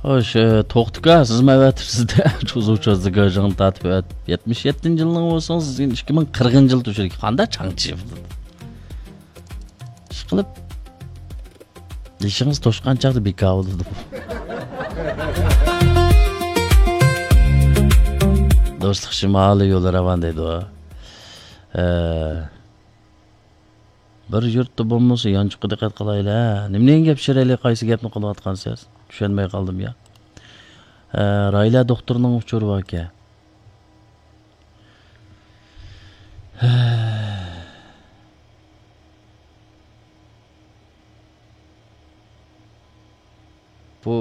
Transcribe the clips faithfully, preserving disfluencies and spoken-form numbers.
خوش، ئە، توختىكا، سىزمۇ ئەۋەتىپسىز-دە، چوزۇ چوزدىكا، جىڭ تارتىپ ئەۋەتىپ، يەتمىش يەتتىنچى يىلنىڭ بولسىڭىز، سىزگە ئىككى مىڭ قىرىقىنچى يىل توشىدىكەن. قانداق چاڭچى؟ ئىشقىلىپ، يېشىڭىز توشقان چاغدا بىكار بولىدۇ. دوستلۇق شىمالى يولى راۋان دەيدۇ. ئە، بىر يۇرتتا بولمىسا، يانچۇققا دىققەت قىلايلى، ھە؟ نېمىنىڭ گەپ شىرەيلى، قايسى گەپنى قىلىۋاتقانسىز؟ چۈشەنمەي قالدىم يا. ھە، رايلە دوختۇرنىڭ ئۇچۇرى باركەن. بۇ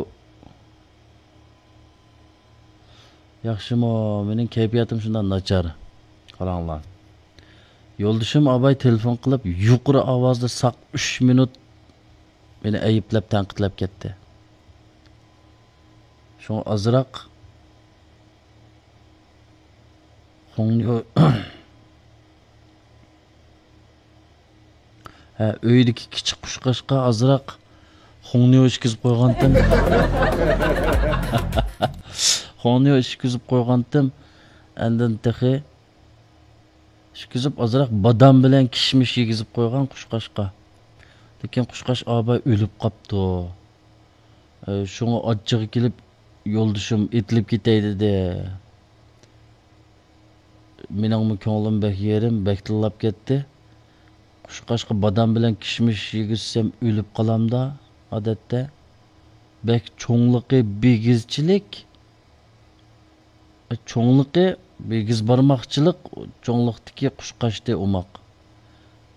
ياخشىمۇ؟ مېنىڭ كەيپىياتىم شۇنداق ناچار. قاراڭلار. يولدىشىم ئاباي تېلېفون قىلىپ، يۇقىرى ئاۋازدا ساق ئۈچ مىنۇت مېنى ئەيىبلەپ، تەنقىدلەپ كەتتى. شۇڭا ئازراق خۇڭنىيو-، ھە، ئۆيدىكى كىچىك قۇشقاچقا ئازراق خۇڭنىيو ئىچكۈزۈپ قويغانتىم. خۇڭنىيو ئىچكۈزۈپ قويغانتىم. ئاندىن تېخى ئىچكۈزۈپ، ئازراق بادام بىلەن كىشمىش يېگۈزۈپ قويغان قۇشقاچقا. لېكىن قۇشقاچ ئاباي ئۆلۈپ قاپتۇ. ئە، شۇڭا ئاچچىقى كېلىپ، يولدىشىم ئېتىلىپ كېتەي دېدى. مېنىڭمۇ كۆڭلۈم بەك يېرىم، بەك تىللاپ كەتتى. قۇشقاچقا بادام بىلەن كىشمىش يېگۈزسەم ئۆلۈپ قالامدا، ئادەتتە. بەك چوڭلۇقى بىگىزچىلىك. چوڭلۇقى بىگىز بارماقچىلىق، چوڭلۇقتىكى قۇشقاچتى ئوماق.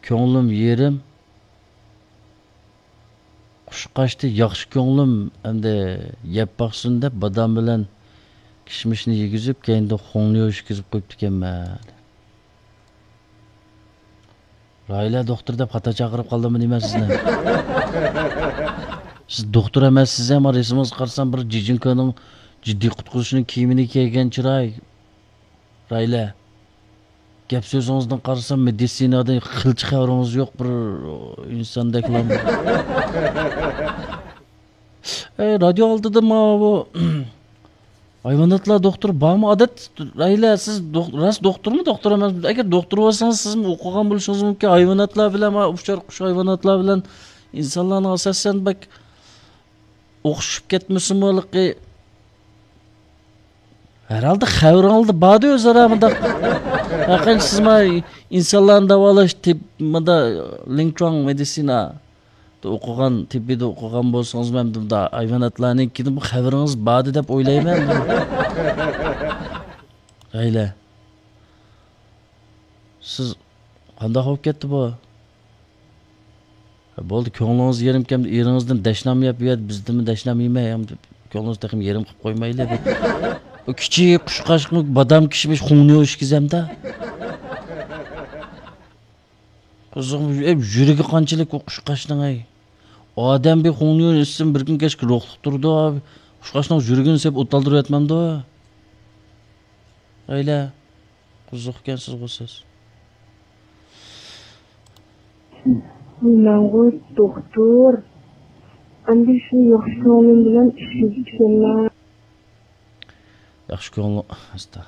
كۆڭلۈم يېرىم. قۇشقاچتى ياخشى كۆڭلۈم، ئەمدى يەپ باقسۇن دەپ بادام بىلەن كىشمىشنى يېگۈزۈپ، كەينىدىن خۇڭنىيو ئىچكۈزۈپ قويۇپتىكەنمەن. رايلە دوختۇر دەپ خاتا چاقىرىپ قالدىممۇ نېمە سىزنى؟ سىز دوختۇر ئەمەسسىز ھەم، رەسىمىڭىزگە قارىسام بىر جىجىنكونىڭ جىددىي قۇتقۇزۇشىنىڭ كىيىمىنى كىيگەن چىراي. رايلە. گەپ سۆزىڭىزدىن قارىسام، مېدىتسىنادىن قىلچە خەۋىرىڭىز يوق بىر ئىنساندەكلا. ئەي، رادىيو ئالدىدا ماۋۇ ھايۋاناتلار دوختۇرى بارمۇ؟ ئادەت، رايلە، سىز دوخ-، راست دوختۇرمۇ، دوختۇر ئەمەسمۇ؟ ئەگەر دوختۇر بولسىڭىز، سىزمۇ ئوقۇغان بولۇشىڭىز مۇمكىن. ھايۋاناتلار بىلەن، ما، ئۇچار قۇش ھايۋاناتلار بىلەن ئىنسانلارنىڭ ئاساسەن بەك ئوخشىشىپ كەتمىسىمۇ، ھېلىقى ھەرھالدا خەۋىرىڭلاردا باردى ئۆزئارا مۇنداق. ھەقىقەتەن سىز ما ئىنسانلارنى داۋالاش تىپ، مۇندا لىڭچۇاڭ مېدىتسىنا ئوقۇغان، تېببىيدا ئوقۇغان بولسىڭىزمۇ، ئەمدى مۇندا ھايۋاناتلارنىڭكىدىن بۇ خەۋىرىڭىز باردى دەپ ئويلايمەن. ھەيلە. سىز قانداق بولۇپ كەتتى بۇ؟ بولدى، كۆڭلىڭىز يېرىمكەن، ئېرىڭىزدىن دەشنام يەپ يۈر، بىزدىنمۇ دەشنام يېمەي، كۆڭلىڭىزنى تېخىمۇ يېرىم قىلىپ قويمايلى. ئۇ كىچىك قۇشقاچقىمۇ بادام كىشمىش خۇڭنىيو ئىچكۈزەمدە. قىزىق، ئەي، يۈرىكى قانچىلىك ئۇ قۇشقاچنىڭ، ئەي. ئادەم بىر خۇڭنىيو ئىچسىمۇ بىر كۈن كەچكە روھلۇق تۇرىدۇ. قۇشقاچنىڭ يۈرىكىنى سېلىپ ئوت ئالدۇرۇۋەتمەمدۇ؟ ئەيلە. قىزىق ئىكەنسىزغۇ سىز. مەنغۇ دوختۇر. ئەمدى شۇ ياخشى كۆڭلۈم بىلەن ئىشلىۋېتىشىملا. ياخشى كۆڭلۈڭ ئاستا.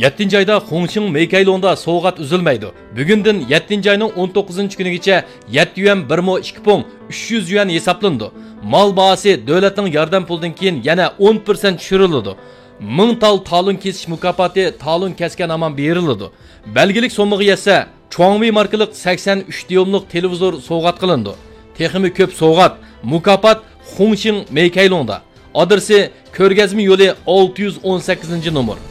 يەتتىنچى ئايدا خۇڭشىڭ مېيكەيلۇڭدا سوۋغات ئۈزۈلمەيدۇ. بۈگۈندىن يەتتىنچى ئاينىڭ ئون توققۇزىنچى كۈنىگىچە يەتتە يۈەن بىر مو ئىككى پۇڭ ئۈچ يۈز يۈەن ھېسابلىنىدۇ. مال باھاسى دۆلەتنىڭ ياردەم پۇلىدىن كېيىن يەنە ئون پىرسەنت چۈشۈرۈلىدۇ. مىڭ تال تالون كېسىش مۇكاپاتى تالون كەسكەن ھامان بېرىلىدۇ. بەلگىلىك سوممىغا يەتسە، چۇاڭۋېي ماركىلىق سەكسەن ئۈچ دىيۇملۇق تېلېۋىزور سوۋغات قىلىنىدۇ. تېخىمۇ كۆپ سوۋغات، مۇكاپات خۇڭشىڭ مېيكەيلۇڭدا. ئادرېسى: كۆرگەزمە يولى، ئالتە يۈز ئون سەككىزىنچى نومۇر.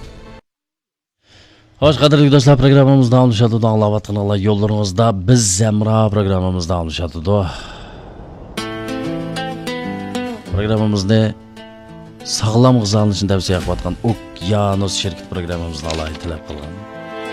خوش، قەدىرلىك دوستلار، پروگراممىمىز داۋاملىشىۋاتىدۇ. ئاڭلاۋاتقىنىڭلار يوللىرىڭىزدا بىز ھەمراھ پروگراممىمىز داۋاملىشىۋاتىدۇ. پروگراممىمىزنى ساغلام غىزالىنىشنى تەۋسىيە قىلىۋاتقان ئوكيانوس شىركىتى پروگراممىمىزنى ئالاھىدە تەلەپ قىلغان.